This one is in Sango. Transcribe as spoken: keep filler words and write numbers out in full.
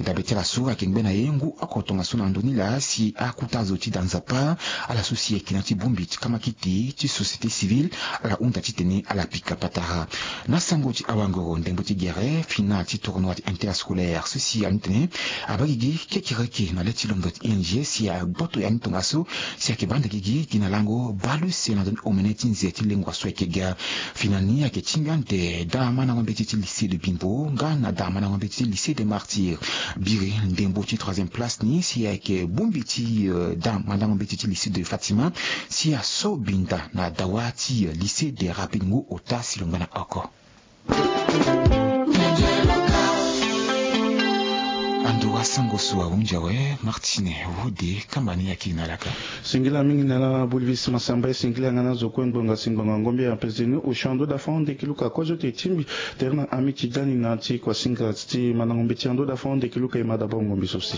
Dabe ti ala so ayeke ngbe na ye ngu oko tongaso na ndoni laa si akuta azo ti da nzapa, ala so si ayeke na ti bongbi ti kamakiti ti société civile, ala hunda titene ala pika patara. Na sango ti awangoro ndembo ti gere final ti tournoi ti interscolaire so si ani tene abaa gigi kekereke na le ti londo ti I N G si agboto ya ni tongaso si ayeke baa nde gigi gi na lango baleuse na ndoni omene ti nze ti lengua so ayeke ga. Fini na ni ayeke ti nga nde da mandango mbeti ti lycée de Bimbo nga na da mandango mbeti ti lycée de Martyrs. Biri ndembo ti troisième place ni si ayeke bongbi ti da mandango mbeti ti lycée de Fatima si aso binda na dawa ti lycée de Rapid ngu ota si lo ngba na oko. Ando wa sango so ahunzi awe. Martine Wode kamba ni ayeke na laka. Singila mingi na la Bolivie Sima Samba e singila nga na zo kue ngbonga si ngbonga ngombe ya pezeni osio ando da fond de kiluka kozo te timbi. Terna ami ti dani na ti kwasinga ti mandango mbeti ando da fond de kiluka e ma da bongo mbi so si.